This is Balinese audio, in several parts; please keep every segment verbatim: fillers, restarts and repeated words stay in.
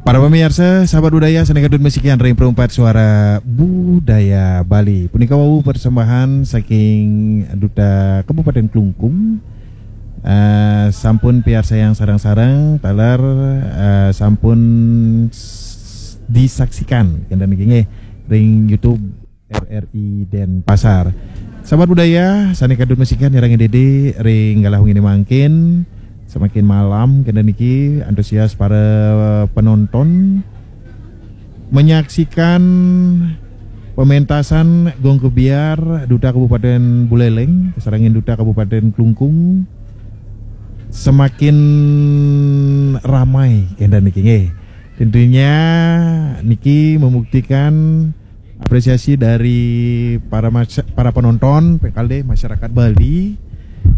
Para pemirsa, sahabat budaya, sané kadut masikian ring perumpat suara budaya Bali. Punika wau persembahan saking Duta Kabupaten Klungkung. Eh, sampun piarsayang sareng-sareng, taler, eh, sampun s-, disaksikan, kénten niki nggih, ring YouTube R R I Denpasar. Sahabat budaya, sané kadut masikian nyarengin Dédé ring galah wenginé mangkin, semakin malam kénten niki antusias para penonton menyaksikan pementasan gong kebyar Duta Kabupaten Buleleng, sarengin Duta Kabupaten Klungkung semakin ramai kénten niki nggih. Tentunya niki membuktikan apresiasi dari para masya-, para penonton, pengkalih masyarakat Bali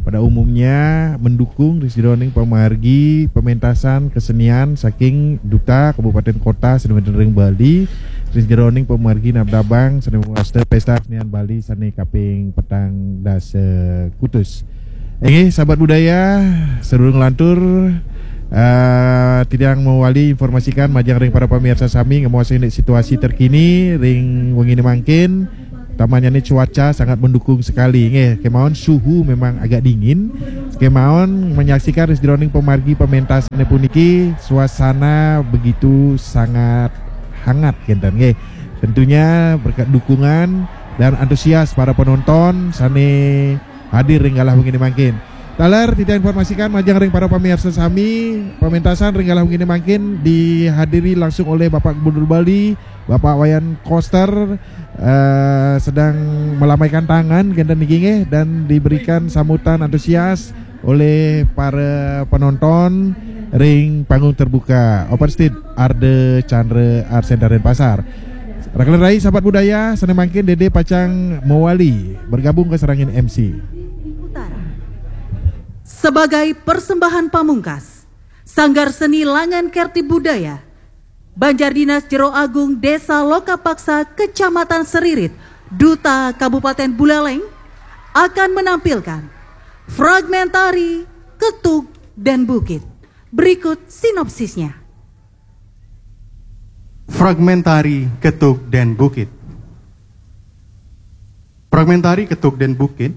pada umumnya mendukung ring sajeroning pamargi pementasan kesenian saking Duta Kabupaten Kota sané wénten ring Bali, ring sajeroning pamargi nabdabang sané mawastu Pesta Kesenian Bali sané kaping petang dasa kutus. Inggih, sahabat budaya, sadurung nglantur, eh, titiang mawali informasikan majeng ring para pamirsa sami, ngemaos indik situasi terkini ring wenginé mangkin. Tamannya ini cuaca sangat mendukung sekali, nggih. Kemawon suhu memang agak dingin. Kemawon menyaksikan ring sajeroning pamargi pementasané puniki, suasana begitu sangat hangat, kénten, nggih. Tentunya berkat dukungan dan antusias para penonton sané hadir ring galah wenginé mangkin. Taler titiang informasikan majeng ring para pamirsa sami, pementasan ring galah wenginé mangkin dihadiri langsung oleh Bapak Gubernur Bali, Bapak Wayan Koster, eh, sedang melambaikan tangan, kénten niki nggih, dan diberikan sambutan antusias oleh para penonton ring panggung terbuka. Open stage, Arde Chandra Art Center Denpasar. Rakelan rai, sahabat budaya, sané mangkin Dédé pacang mawali bergabung kasarengin M C. Utara. Sebagai persembahan pamungkas, Sanggar Seni Langan Kerti Budaya, Banjar Dinas Jero Agung, Desa Lokapaksa, Kecamatan Seririt, Duta Kabupaten Buleleng, akan menampilkan fragmentari Ketug dan Bukit. Berikut sinopsisnya. Fragmentari Ketug dan Bukit. Fragmentari Ketug dan Bukit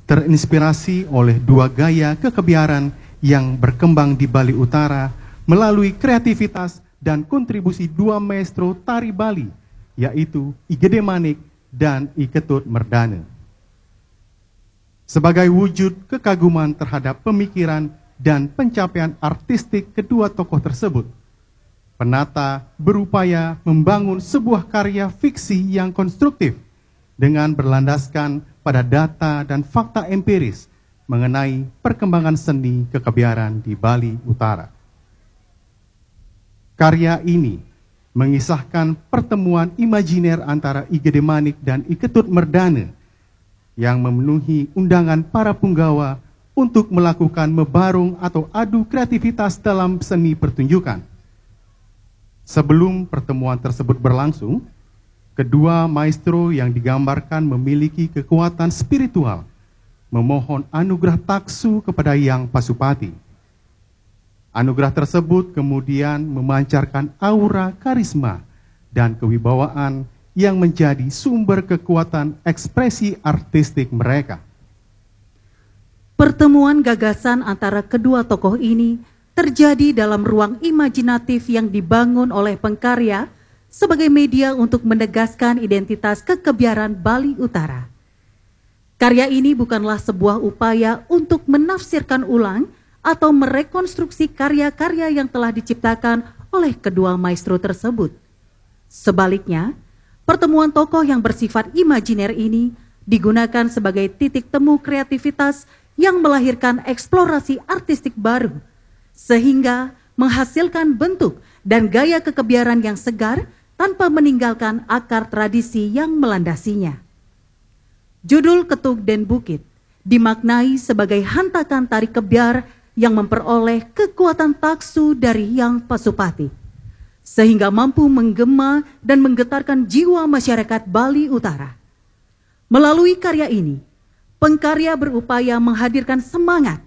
terinspirasi oleh dua gaya kekebiaran yang berkembang di Bali Utara melalui kreativitas dan kontribusi dua maestro tari Bali, yaitu I Gedé Manik dan I Ketut Merdana. Sebagai wujud kekaguman terhadap pemikiran dan pencapaian artistik kedua tokoh tersebut, penata berupaya membangun sebuah karya fiksi yang konstruktif dengan berlandaskan pada data dan fakta empiris mengenai perkembangan seni kekebiaran di Bali Utara. Karya ini mengisahkan pertemuan imajiner antara I Gedé Manik dan I Ketut Merdana yang memenuhi undangan para punggawa untuk melakukan mebarung atau adu kreativitas dalam seni pertunjukan. Sebelum pertemuan tersebut berlangsung, kedua maestro yang digambarkan memiliki kekuatan spiritual memohon anugerah taksu kepada Yang Pasupati. Anugerah tersebut kemudian memancarkan aura karisma dan kewibawaan yang menjadi sumber kekuatan ekspresi artistik mereka. Pertemuan gagasan antara kedua tokoh ini terjadi dalam ruang imajinatif yang dibangun oleh pengkarya sebagai media untuk menegaskan identitas kekebiaran Bali Utara. Karya ini bukanlah sebuah upaya untuk menafsirkan ulang atau merekonstruksi karya-karya yang telah diciptakan oleh kedua maestro tersebut. Sebaliknya, pertemuan tokoh yang bersifat imajiner ini digunakan sebagai titik temu kreativitas yang melahirkan eksplorasi artistik baru, sehingga menghasilkan bentuk dan gaya kekebiaran yang segar tanpa meninggalkan akar tradisi yang melandasinya. Judul Ketug dan Bukit dimaknai sebagai hentakan tari kebyar yang memperoleh kekuatan taksu dari Yang Pasupati, sehingga mampu menggema dan menggetarkan jiwa masyarakat Bali Utara. Melalui karya ini, pengkarya berupaya menghadirkan semangat,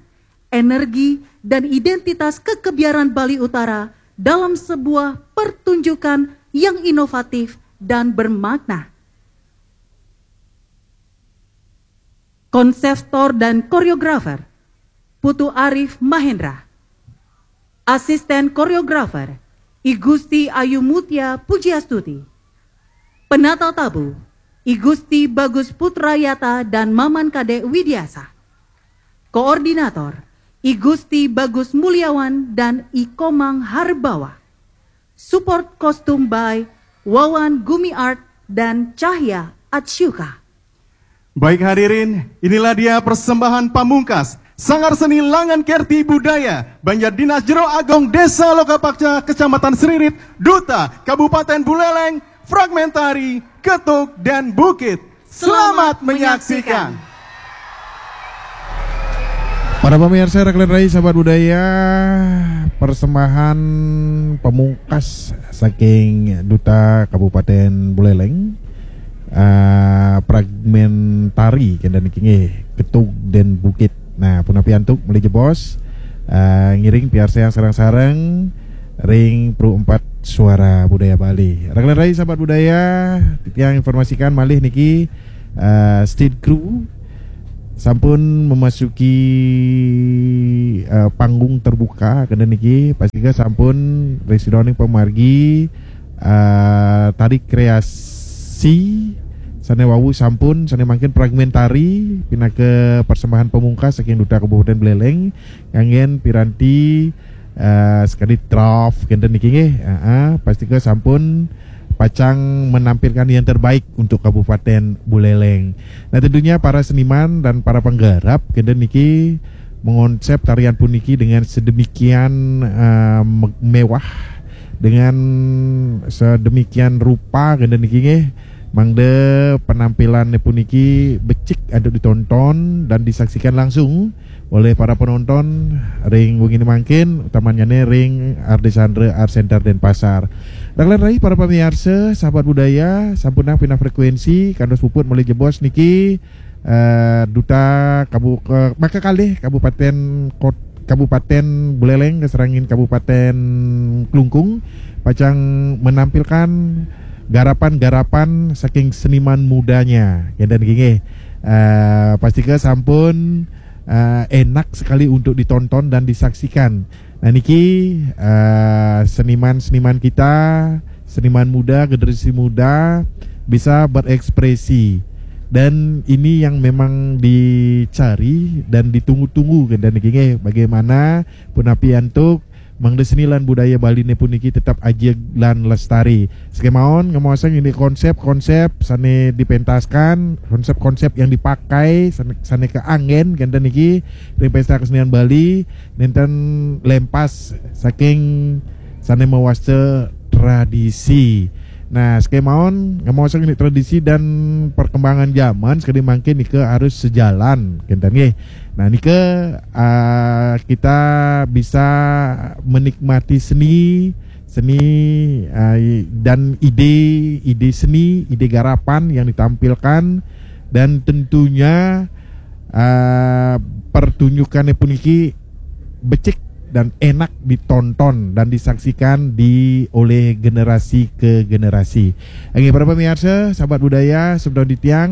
energi, dan identitas kekebiaran Bali Utara dalam sebuah pertunjukan yang inovatif dan bermakna. Konseptor dan koreografer, Putu Arif Mahendra. Asisten koreografer, I Gusti Ayu Mutia Pujiastuti. Penata tabu, I Gusti Bagus Putrayata dan Maman Kadek Widiasa. Koordinator, I Gusti Bagus Mulyawan dan I Komang Harbawa. Support kostum by Wawan Gumi Art dan Cahya Atshuka. Baik hadirin, inilah dia persembahan pamungkas Sanggar Seni Langan Kerti Budaya Banjar Dinas Jero Agong Desa Lokapakca Kecamatan Seririt, Duta Kabupaten Buleleng, fragmentari Ketuk dan Bukit. Selamat menyaksikan. Para pemirsa, Raklen Rai, sahabat budaya, persembahan pamungkas saking Duta Kabupaten Buleleng, eh, fragmentari kenten niki nggih, Ketuk dan Bukit. Nah, punapi antuk meli jebos, eh, ngiring piarsayang sareng-sareng ring Pro empat Suara Budaya Bali. Raklen Rai, sahabat budaya, titiang informasikan malih niki, eh, stage crew sampun memasuki, eh, panggung terbuka kenten niki, pastika sampun ring sidaning pamargi, eh, tari kreasi sane wau sampun, sane mangkin fragmentari pinaka persembahan pamungkas saking Duta Kabupaten Buleleng, nganggen piranti, eh, sekadi trof kenten niki nggih. Heeh, pastika sampun pacang menampilkan yang terbaik untuk Kabupaten Buleleng. Nah, tentunya para seniman dan para penggarap kenten niki mengonsep tarian puniki dengan sedemikian, eh, me-, mewah, dengan sedemikian rupa kenten niki nggih, mangda penampilan puniki becik antuk ditonton dan disaksikan langsung oleh para penonton ring wengi mangkin, utamanyane ring Ardesandra Art Center Denpasar. Raklen Rai, para pamiarsa, sahabat budaya, sampun pinah frekuensi, kantos puput meli jebos niki, eh, Duta Kabu-, eh, maka kalih Kabupaten Kot-, Kabupaten Buleleng kasarengin Kabupaten Klungkung pacang menampilkan garapan-garapan saking seniman mudanya. Kenten nggih. Eh, pastika sampun, eh, enak sekali untuk ditonton dan disaksikan. Nah, niki, eh, seniman-seniman kita, seniman muda, generasi muda bisa berekspresi. Dan ini yang memang dicari dan ditunggu-tunggu kenten niki nggih, bagaimana punapi antuk mangda seni lan budaya Baline puniki tetap ajeg lan lestari. Sekemaon ngemaosang indik konsep-konsep sane dipentaskan, konsep-konsep yang dipakai sane, sane kaanggen kenten niki ring Pesta Kesenian Bali, nenten lempas saking sane mawasta tradisi. Nah, sekemaon ngemaosang indik tradisi dan perkembangan zaman sekadi mangkin nika harus sejalan kenten nggih. Nah, nika, ah, kita bisa menikmati seni, seni, ah, i-, dan ide, ide seni, ide garapan yang ditampilkan, dan tentunya, ah, pertunjukannya puniki becik dan enak ditonton dan disaksikan di, oleh generasi ke generasi. Nggih, para pemirsa, sahabat budaya, semeton titiang,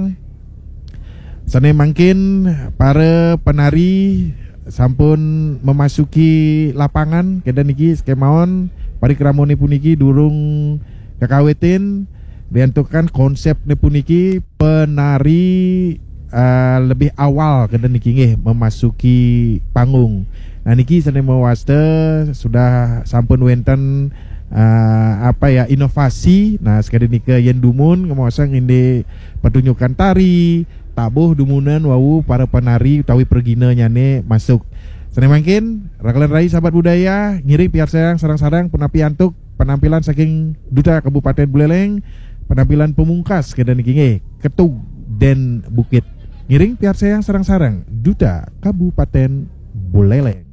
sane mangkin para penari sampun memasuki lapangan, kenten niki sekemaon parikramane puniki durung kakawitin, riantukan konsepne puniki penari, eh, lebih awal kenten niki nggih memasuki panggung. Nah, niki sane mawasta sudah sampun wenten, eh, apa ya, inovasi. Nah, sekadi nika yen dumun ngemaosang indik pertunjukan tari, tabuh dumunan wau para penari utawi preginanyane masuk. Sane mangkin, Raklen Rai sahabat budaya, ngiring piarsayang sareng-sareng punapi antuk penampilan saking Duta Kabupaten Buleleng, penampilan pamungkas kenten niki nggih, Ketuk dan Bukit. Ngiring piarsayang sareng-sareng, Duta Kabupaten Buleleng.